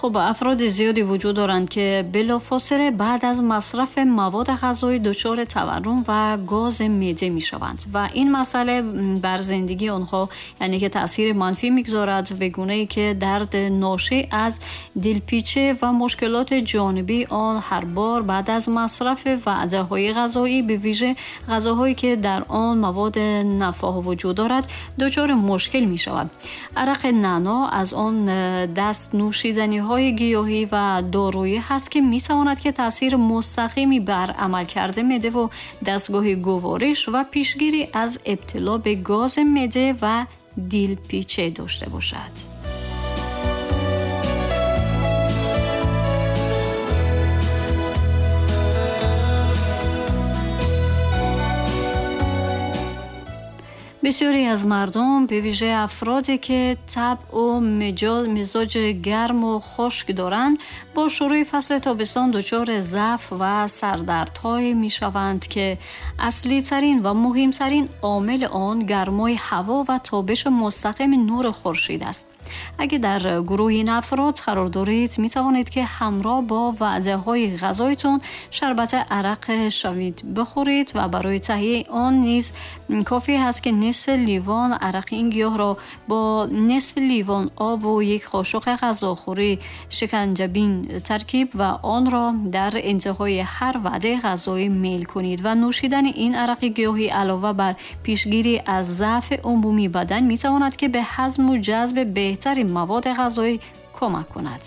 Хуб, афроди зиёде вуҷуд доранд, ки билофосила баъд аз масрафи маводи ғизоӣ дучори таваррум ва гози меъде мешаванд ва ин масъала бар зиндагии онҳо яъне ки таъсири манфӣ мегузорад, ба гунае ки дард ношӣ аз дилпеча ва мушкилоти ҷонибии он ҳар бор баъд аз масрафи ваъдаҳои ғизоӣ, бавижа ғизоҳое ки дар он маводи нафоҳ вуҷуд дорад, дучори мушкил мешавад. Арақи наъно аз он даст нӯшиданиҳои гиёҳӣ ва доруӣ ҳаст, ки метавонад ки таъсири мустақими бар амалкарди меъде ва дастгоҳи гувориш ва пешгирӣ аз ибтило ба гози меъде ва дилпеча дошта бошад. Бисёре аз мардум, бевижа афроде ки табъу мизоҷи гарму хушк доранд, бо шурӯи фасли тобистон дучори заъф ва сардардҳое мешаванд, ки аслитарин ва муҳимтарин омили он гармои ҳаво ва тобиши мустақими нури хуршед аст. Агар дар гурӯҳи ин афрод қарор доред, метавонед ки ҳамроҳ бо ваъдаҳои ғизоитон шарбати арақ шавид бихӯред ва барои таҳияи он низ кофӣ ҳаст, ки нисфи ливон арақи ин гиёҳро бо нисфи ливон обу як қошуқи ғизохӯрӣ шиканҷабин таркиб ва онро дар интиҳои ҳар ваъдаи ғизоӣ мейл кунед ва нӯшидани ин арақи гиёҳӣ алова бар пешгирӣ аз заъфи умумии бадан метавонад ки ба ҳазму ҷазби беҳтари маводи ғизоӣ кӯмак кунад.